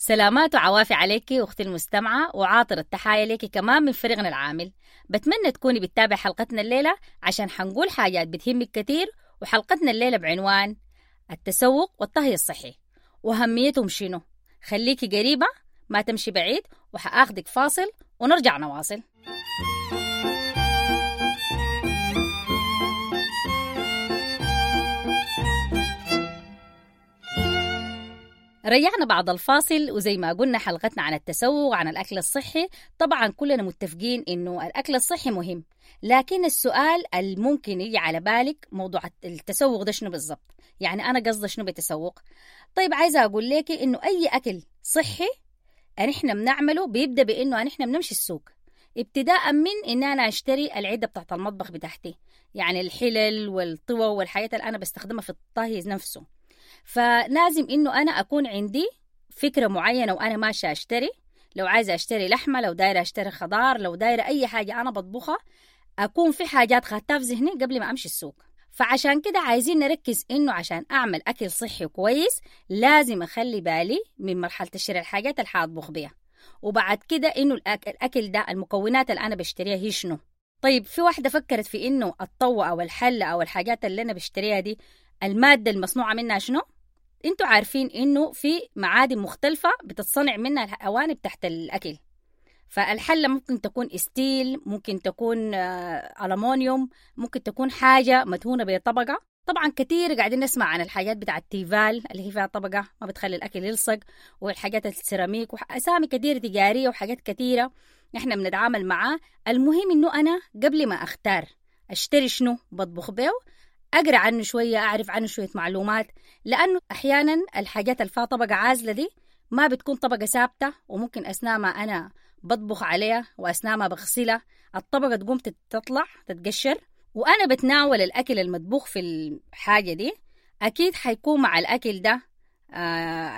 سلامات وعوافي عليك أختي المستمعة، وعاطر التحايا ليك كمان من فريقنا العامل. بتمنى تكوني بتتابع حلقتنا الليلة عشان حنقول حاجات بتهمك كتير. وحلقتنا الليلة بعنوان التسوق والطهي الصحي وأهميتهم شنو. خليكي قريبة ما تمشي بعيد، وحأخدك فاصل ونرجع نواصل. رجعنا بعد الفاصل، وزي ما قلنا حلقتنا عن التسوق عن الأكل الصحي. طبعا كلنا متفقين إنه الأكل الصحي مهم، لكن السؤال الممكن يجي على بالك موضوع التسوق ده شنو بالضبط؟ يعني أنا قصدي شنو بتسوق؟ طيب عايزة أقول لك إنه أي أكل صحي نحن بنعمله بيبدأ بإنه نحن بنمشي السوق، ابتداء من إن أنا أشتري العدة بتاعت المطبخ بتاعتي، يعني الحلل والطوى والحاجات اللي أنا بستخدمها في الطهي نفسه. فلازم إنه أنا أكون عندي فكرة معينة وأنا ماشية أشتري. لو عايزة أشتري لحمة، لو دايرة أشتري خضار، لو دايرة أي حاجة أنا بطبخها، أكون في حاجات خدتها في ذهني قبل ما أمشي السوق. فعشان كده عايزين نركز إنه عشان أعمل أكل صحي كويس لازم أخلي بالي من مرحلة شراء الحاجات اللي حاطبخ بيها، وبعد كده إنه الأكل ده المكونات اللي أنا بشتريها هي شنو. طيب في واحدة فكرت في إنه الطوة أو الحلة أو الحاجات اللي أنا بشتريها دي المادة المصنوعة منها شنو؟ انتوا عارفين انه في معادن مختلفة بتتصنع منها الأواني تحت الأكل. فالحلة ممكن تكون استيل، ممكن تكون ألمونيوم، ممكن تكون حاجة مدهونة بطبقة. طبعا كتير قاعدين نسمع عن الحاجات بتاع التيفال اللي هي فيها طبقة ما بتخلي الأكل يلصق، والحاجات السيراميك، وأسامي كتير تجارية وحاجات كتيرة نحن بنتعامل معاه. المهم انه أنا قبل ما أختار أشتري شنو بطبخ بيه أقرأ عنه شوية، أعرف عنه شوية معلومات، لأنه أحيانا الحاجات اللي فيها طبقة عازلة دي ما بتكون طبقة ثابتة، وممكن أثناء ما أنا بطبخ عليها وأثناء ما بغسلها الطبقة تقوم تطلع تتقشر، وأنا بتناول الأكل المطبوخ في الحاجة دي أكيد حيكون مع الأكل ده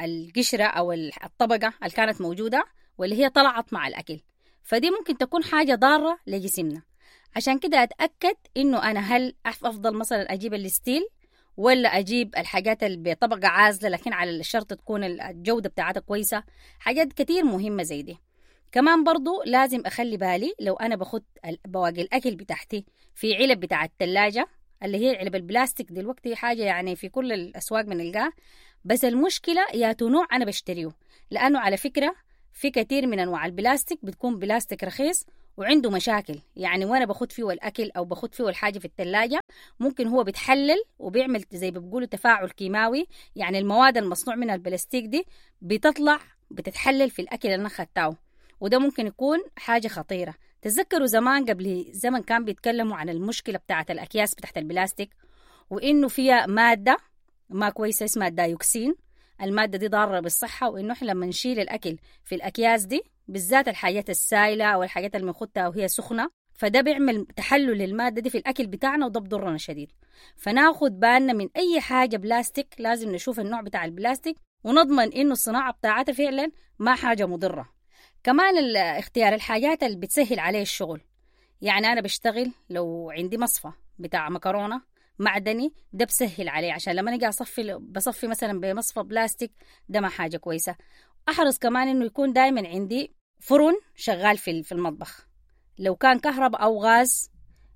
القشرة أو الطبقة اللي كانت موجودة واللي هي طلعت مع الأكل، فدي ممكن تكون حاجة ضارة لجسمنا. عشان كده أتأكد إنه أنا هل أفضل مثلا أجيب الستيل ولا أجيب الحاجات اللي بطبقة عازلة لكن على الشرط تكون الجودة بتاعتها كويسة. حاجات كتير مهمة زي دي. كمان برضو لازم أخلي بالي لو أنا باخد بواقي الأكل بتاعتي في علب بتاع التلاجة اللي هي علب البلاستيك دلوقتي حاجة يعني في كل الأسواق بنلقاها، بس المشكلة يا نوع أنا بشتريه، لأنه على فكرة في كتير من أنواع البلاستيك بتكون بلاستيك رخيص وعنده مشاكل، يعني وانا باخد فيه الاكل او باخد فيه الحاجة في الثلاجة ممكن هو بيتحلل وبيعمل زي ما بيقولوا تفاعل كيماوي، يعني المواد المصنوع منها البلاستيك دي بتطلع بتتحلل في الاكل اللي انا خدته، وده ممكن يكون حاجة خطيرة. تتذكروا زمان قبل زمن كان بيتكلموا عن المشكلة بتاعه الاكياس بتاعت البلاستيك، وانه فيها مادة ما كويسة اسمها الدايوكسين، المادة دي ضارة بالصحة، وانه احنا لما نشيل الاكل في الاكياس دي بالذات الحاجات السائلة أو الحاجات اللي بنخدها وهي سخنة، فده بيعمل تحلل للمادة دي في الأكل بتاعنا وده بضرنا شديد. فناخد بالنا من أي حاجة بلاستيك، لازم نشوف النوع بتاع البلاستيك ونضمن إنه الصناعة بتاعتها فعلا ما حاجة مضرة. كمان اختيار الحاجات اللي بتسهل عليه الشغل، يعني أنا بشتغل لو عندي مصفى بتاع مكرونة معدني ده بسهل عليه، عشان لما نجي أصفي بصفي مثلا بمصفى بلاستيك ده ما حاجة كويسة. أحرص كمان إنه يكون دايما عندي فرن شغال في المطبخ، لو كان كهرباء أو غاز،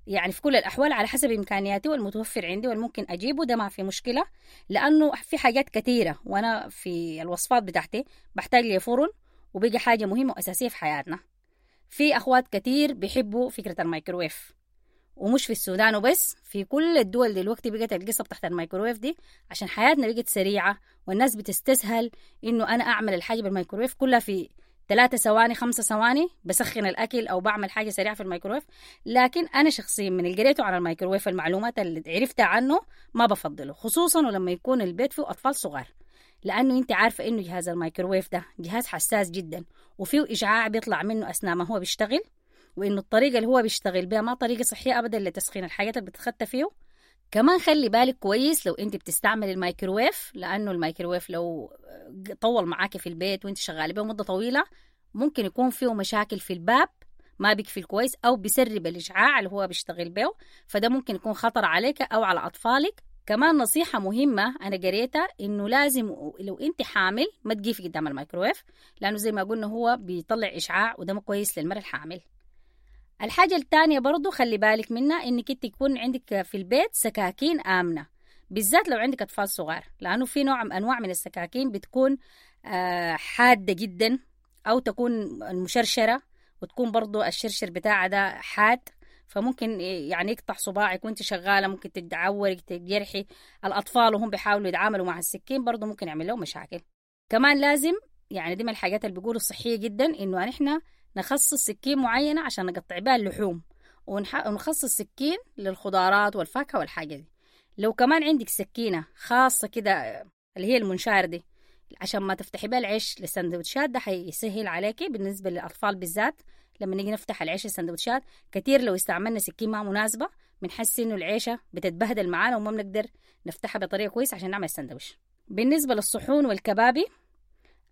يعني في كل الأحوال على حسب إمكانياتي والمتوفر عندي والممكن أجيبه، ده ما في مشكلة، لأنه في حاجات كثيرة وأنا في الوصفات بتاعتي بحتاج لي فرن، وبيجي حاجة مهمة وأساسية في حياتنا. في أخوات كتير بيحبوا فكرة الميكروويف، ومش في السودان وبس، في كل الدول دلوقتي بقت القصة بتاعت الميكروويف دي، عشان حياتنا بقت سريعة والناس بتستسهل إنه أنا أعمل الحاجة بالميكروويف كلها في 3 ثواني 5 ثواني، بسخن الأكل أو بعمل حاجة سريعة في الميكروويف. لكن أنا شخصيا من اللي قريته عن الميكروويف المعلومات اللي عرفتها عنه ما بفضله، خصوصا ولما يكون البيت فيه أطفال صغار، لأنه أنت عارفة إنه جهاز الميكروويف ده جهاز حساس جدا وفيه إشعاع بيطلع منه أثناء ما هو بيشتغل، وإنه الطريقة اللي هو بيشتغل بها ما طريقة صحية أبدا لتسخين الحاجات اللي بتتخطى فيه. كمان خلي بالك كويس لو انت بتستعمل الميكروويف، لانه الميكروويف لو طول معاكي في البيت وانت شغالة به مده طويلة ممكن يكون فيه مشاكل في الباب ما بيقفل كويس او بيسرب الاشعاع اللي هو بيشتغل به، فده ممكن يكون خطر عليك او على اطفالك. كمان نصيحة مهمة أنا قريتها إنه لازم لو أنت حامل ما تقيفي قدام الميكروويف، لأنه زي ما قلنا هو بيطلع إشعاع وده ما كويس للمرأة الحامل. الحاجة الثانية برضو خلي بالك منها إنك أنت يكون عندك في البيت سكاكين آمنة، بالذات لو عندك أطفال صغار، لأنه في نوع من أنواع من السكاكين بتكون حادة جدا أو تكون مشرشرة، وتكون برضو الشرشر بتاعها ده حاد، فممكن يعني يقطع صباعك وانت شغالة، ممكن تتعورك تجرحي الأطفال وهم بيحاولوا يتعاملوا مع السكين، برضو ممكن يعمل لهم مشاكل. كمان لازم يعني دي من الحاجات اللي بيقولوا صحية جدا، إنه نحن نخصص سكين معينة عشان نقطع بها اللحوم، ونخصص سكين للخضارات والفاكهة والحاجة دي. لو كمان عندك سكينة خاصة كده اللي هي المنشار دي عشان ما تفتحي بها العيش للسندوتشات، ده حيسهل عليكي بالنسبة للأطفال بالذات. لما نيجي نفتح العيش السندوتشات كتير لو استعملنا سكين ما مناسبة بنحس إنه العيشة بتتبهدل معانا وما بنقدر نفتحها بطريقة كويسة عشان نعمل سندوتش. بالنسبة للصحون والكبابي،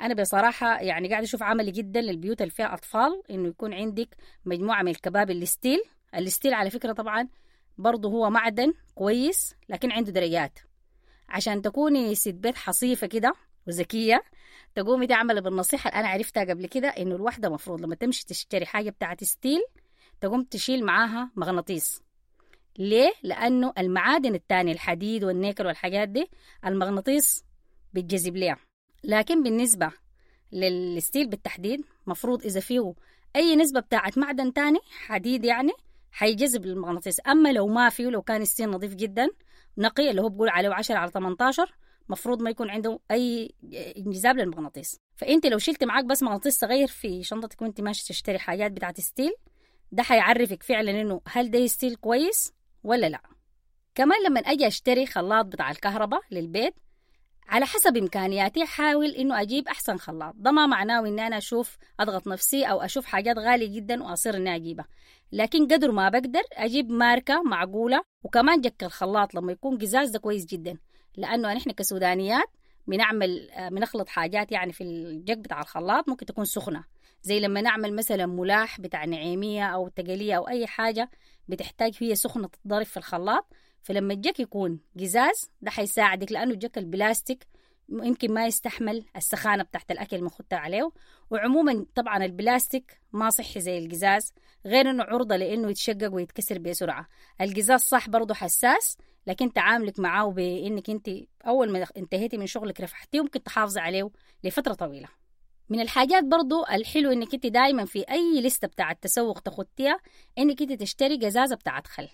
أنا بصراحة يعني قاعدة أشوف عملي جدا للبيوت اللي فيها أطفال إنه يكون عندك مجموعة من الكبابي ال steel. ال steel على فكرة طبعا برضه هو معدن كويس لكن عنده درجات، عشان تكوني ست بيت حصيفة كده وذكية تقومي تعملي بالنصيحة اللي أنا عرفتها قبل كده، إنه الواحدة مفروض لما تمشي تشتري حاجة بتاعت steel تقوم تشيل معاها مغناطيس. ليه؟ لأنه المعادن التانية الحديد والنيكل والحاجات دي المغناطيس بتجذب ليها، لكن بالنسبة لل steel بالتحديد مفروض إذا فيه أي نسبة بتاعت معدن تاني حديد يعني حيجذب المغناطيس. أما لو ما فيه، لو كان steel نظيف جدا نقي اللي هو بقول عليه 10 على 18، مفروض ما يكون عنده أي انجذاب للمغناطيس. فأنت لو شلت معاك بس مغناطيس صغير في شنطتك وانت ماشي تشتري حاجات بتاعت steel، ده حيعرفك فعلا إنه هل ده steel كويس ولا لا. كمان لما أجي أشتري خلاط بتاع الكهرباء للبيت على حسب إمكانياتي حاول إنه أجيب أحسن خلاط. ده ما معناه إن أنا أشوف أضغط نفسي أو أشوف حاجات غالية جدا وأصير إني أجيبها، لكن قدر ما بقدر أجيب ماركة معقولة. وكمان جك الخلاط لما يكون قزاز ده كويس جدا، لأنه نحن كسودانيات بنعمل بنخلط حاجات يعني في الجك بتاع الخلاط ممكن تكون سخنة، زي لما نعمل مثلا ملاح بتاع نعيمية أو تقلية أو أي حاجة بتحتاج هي سخنة تتضرب في الخلاط. فلما الجك يكون قزاز ده حيساعدك، لأنه الجك البلاستيك يمكن ما يستحمل السخانة بتاعت الأكل المخطة عليه. وعموما طبعا البلاستيك ما صحي زي القزاز، غير أنه عرضة لأنه يتشقق ويتكسر بسرعة. القزاز صح برضه حساس، لكن تعاملك معاه بإنك أنت أول ما انتهيتي من شغلك رفحتيه ممكن تحافظي عليه لفترة طويلة. من الحاجات برضو الحلو إنك أنت دايما في أي لستة بتاعة تسوق تخطيها إنك أنت تشتري قزازة بتاعة خل.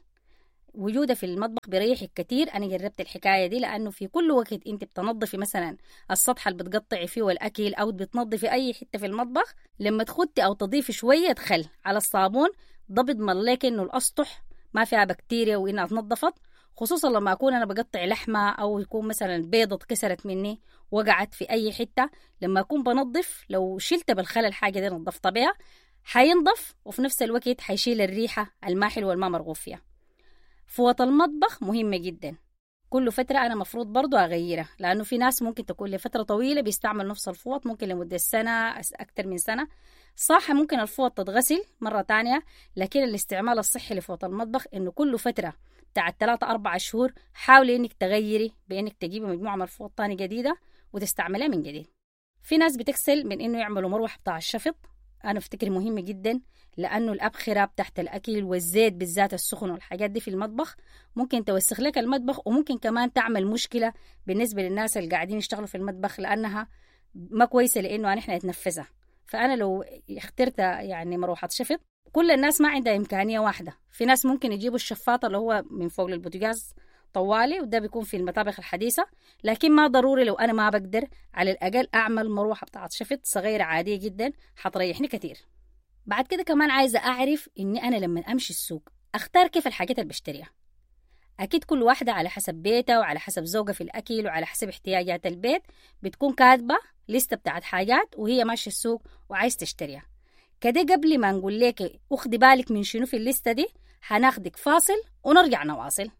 وجوده في المطبخ بيريحك كتير. أنا جربت الحكاية دي، لأنه في كل وقت أنت بتنظفي مثلا السطح اللي بتقطعي فيه الأكل أو بتنظفي أي حتة في المطبخ، لما تخطي أو تضيفي شوية خل على الصابون ده بيضمن لك إنه الأسطح ما فيها بكتيريا وإنها تنظفت، خصوصا لما أكون أنا بقطع لحمة أو يكون مثلا بيضة اتكسرت مني وقعت في أي حتة، لما أكون بنظف لو شلت بالخل الحاجة دي نظفتها بيها حينضف، وفي نفس الوقت حيشيل الريحة الما حلوة والما مرغوب فيها. فوط المطبخ مهمة جدا، كل فترة أنا مفروض برضو أغيرها، لأنه في ناس ممكن تكون لفترة طويلة بيستعمل نفس الفوط، ممكن لمدة سنة أكتر من سنة. صح ممكن الفوط تتغسل مرة تانية، لكن الاستعمال الصحي لفوط المطبخ إنه كل فترة بتاعت 3-4 شهور حاولي إنك تغيري بإنك تجيبي مجموعة من الفوط تاني جديدة وتستعملها من جديد. في ناس بتكسل من إنه يعملوا مروحة بتاع الشفط، أنا أفتكر مهم جدا، لأنه الأبخرة بتاعت الأكل والزيت بالذات السخن والحاجات دي في المطبخ ممكن توسخ لك المطبخ، وممكن كمان تعمل مشكلة بالنسبة للناس اللي قاعدين يشتغلوا في المطبخ، لأنها ما كويسة لأنه نحن نتنفسها. فأنا لو اخترت يعني مروحة شفط، كل الناس ما عندها إمكانية واحدة، في ناس ممكن يجيبوا الشفاطة اللي هو من فوق البوتاجاز طوالي، وده بيكون في المطابخ الحديثة، لكن ما ضروري. لو أنا ما بقدر على الأقل أعمل مروحة بتاعت شفط صغيرة عادية جدا حتريحني كتير. بعد كده كمان عايزة أعرف إني أنا لما أمشي السوق أختار كيف الحاجات اللي بشتريها. أكيد كل واحدة على حسب بيتها وعلى حسب ذوقها في الأكل وعلى حسب احتياجات البيت بتكون كاتبة لستة بتاعت حاجات وهي ماشية السوق وعايز تشتريها. كده قبل ما نقول لك أخدي بالك من شنو في الليستة دي، هناخدك فاصل ونرجع نواصل.